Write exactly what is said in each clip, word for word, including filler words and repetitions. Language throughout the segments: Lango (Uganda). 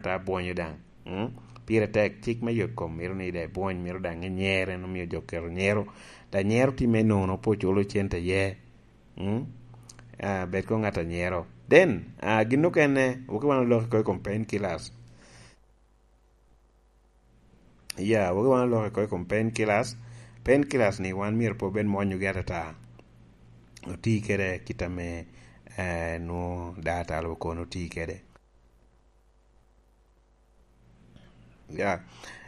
Ata bwonyo daŋ. Mm? Pire tek, cik me yot kom mito ni de bwony, mito daŋ inyere, en omio jo keto nyero. Da nyero timme nono, pe oculo cente iye. Mm? Ah, bed ko ŋat a nyero. Then, ah, gin okene, woki wan oloko oko i kom painkillers. Ya, woki wan oloko oko i kom painkillers. Painkillers ni wan myero pe obed mwonyogi atata. Oti kede kit ame, eh, nwo daa talo kono oti kede. Ya.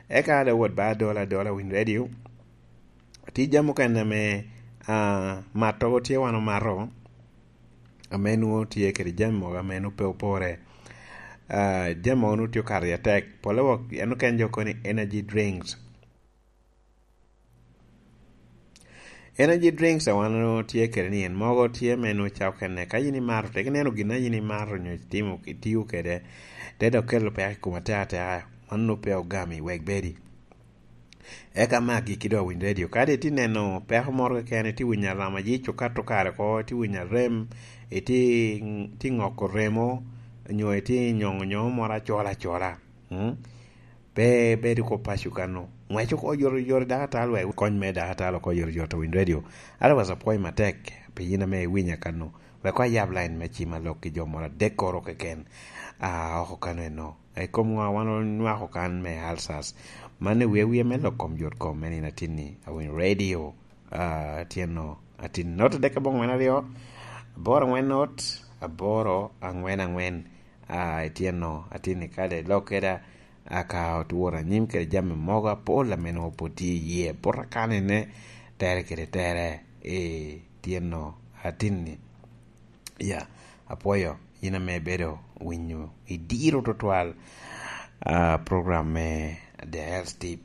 Eka ada wot ba adola, adola win radio. Ti jami mukene ame, ah, mato tye wan omato, ame nwo tye kede jami mogo ame nwo pe opore. Ah, jami mogo nwo tye okato i atek. Pole wok, en oken jo koni energy drinks. Energy drinks a wan otye kede ni en mogo tye me nwo cako kene. Ka yin imato, tek ineno gin a yin imato nyo itimo, itio kede, te dok kelo peko i kom ateka ateka, mano nwo pe ogami, wek bedi. Eka me agikki dok winy radio. Kadi iti neno peko moro keken, iti winyo alama yic okato kare oko, iti winyo arem, iti, iti ŋoko remo, nyo iti nyoŋo nyoŋo moro acola acola. Mm? Pe bedo ko paco kano. Ŋwec oko yot yot i dakatal wek kony me dakatal oko yot yot owiny radio. Otherwise apwoyo matek pi yin ame iwinya kano. Wek ko ayab line me cima lok ki jo moro adek koro keken. Ah, oko kano eno. I kom ŋo wan onywako kan me ulcers. Man i wiye wiye me lok kom yot kom me nino atinni. Awiny radio. Ah, tyenno. Atin note dek aboŋo ŋwen aryo. Aboro ŋwen not. Aboro aŋwen aŋwen. Ah, ityenno. Atinni kade lok keda. Aka otworo anyim kede jami mogo apol ame nwoŋo pwod tye i yie. Pwod akanene tere kede tere. Ee, tyenno atinni. Ya, apwoyo yin ame ibedo winyo i diro tutwal, ah, program me The Health Tip.